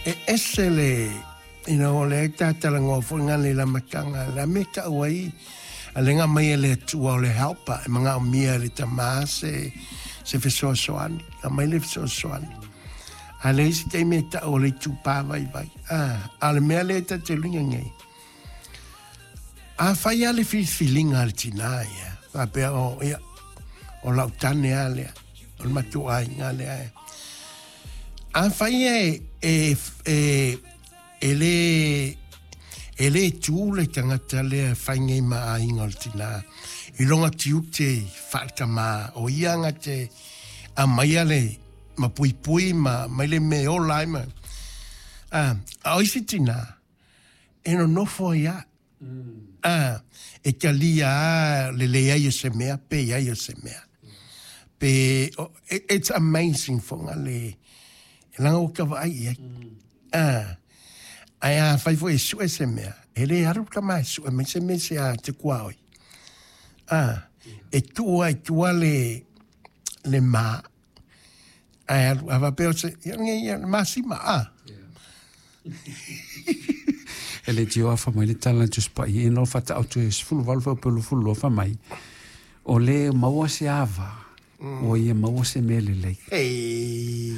E ese le, you know, o lea ta talanoa foi ngā le lamataga, le a mea ta'u ai, a le aumai e le Atua o le helper, e manaomia e le tamā se fesoasoani, aumai le fesoasoani. A le isi taimi e ta'u o le itupa vaivai. Ah, a o le mea lea ta te luiga nei. Afai lava le filifiliga a le tinā ia, faapea o, ia, o lau tane lava lea, o le matou aiga lea e. Afai e le tu le tagata lea e fai nei ma aiga o le tinā, i lona tiute faale-tamā, o ia na te aumaia le ma puipui ma mai le mea e ola ai ma. Ah, a o isi tinā, e nonofo ai lava. Ah, e talia lava le leai o se mea pe i ai o se mea. Pe, it's amazing foga le, leaga ua ta vaai i ai. Ah, ae afai foi e sue se mea, e le alu le tama e sue mai se mea i se a te tuaoi. Ah, e tuu ai i tua le ma, ae alu, a faapea o se, ia nei, ia, le masima, ah. E le tio afa mai le tala na Tusi Paia ina o faata'autu e 18 fuaiupu 22 fai mai, o le maua se ava, ua ia maua se mea lelei. Hey.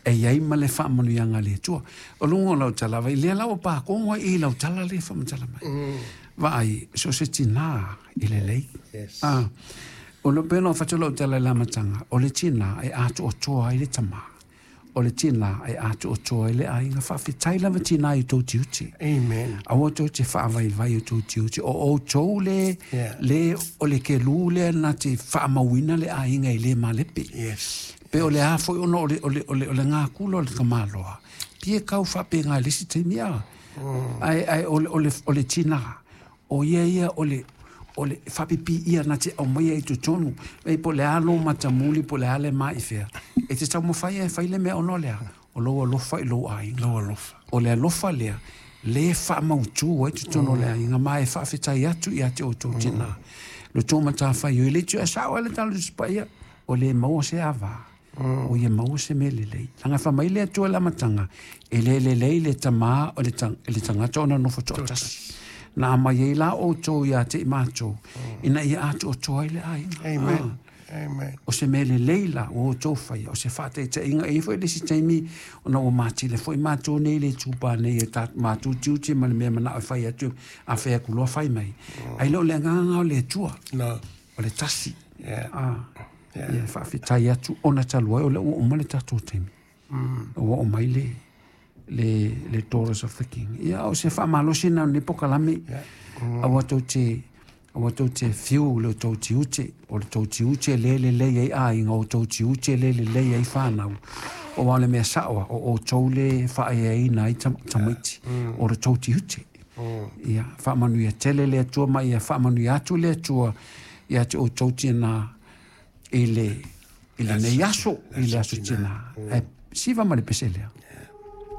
E iai ma le faamanuiaga a le Atua. O luga o lau tala vai, lea la ua pakogo ai i lau tala le faamatala mai. Vaai, so se tinā e lelei. Ah, o le pena o fatu lau tala i le amataga, o le tinā e atoatoa ai le tamā. O le tinā e atoatoa ai le aiga. Faafetai lava tinā i tou tiute. Amen. Aua tou te faavaivai o tou tiute. O outou le, le o le kelū lea na te faamauina le aiga i le malepe. Pe o le a foi ona o le gakula o le tamaloa. Pia kau faapegai le isi taimi a. Ae o le tinā. O ia ia o le faapipi ia na te aumaia i totonu. E po le a lo matamuli, po le a le mai fea. E te taumafai e fai le mea ona o le a. O lou alofa i lou aiga. Lou alofa. O le alofa lea, le faamautu ai totonu o le aiga ma e faafetai atu ia te outou tinā. Lo tou matafaioi le tiu e sao ai le tala Tusi Paia, o le maua se avā. O ia maua se mea lelei. Leaga fai mai le Atua i le amataga, e le lelei le tamā o le tagata ona nofo toatasi. Na aumai ai la outou ia te i matou, ina ia atoatoa ai le aiga. Amen. Amen. O se mea lelei la ua outou faia, o se faataitaiga e i ai foi le isi taimi ona ua matile foi matou nei le itupa nei e ta matou tiute ma le mea manao e fai atu a fai atu loa fai mai. Ai le o le agaga o le Atua, No. o le tasi. Ah, ia faafetai atu ona talu ai o lea ua uma le tatou taimi. Ua oo mai le Daughters of the King. Ia o se faamalosi na o lenei pokalame. Aua tou te fiu le tou tiute, o le tou tiute le lelei ai aiga, o tou tiute le lelei ai fanau. O le mea saoa, o outou le faaeaina ai tamaiti, o le tou tiute. Ia, faamanuia tele le Atua ma ia faamanuia atu le Atua ia te outou tinā i lenei aso, i le aso tinā. Ae siva ma le pese lea.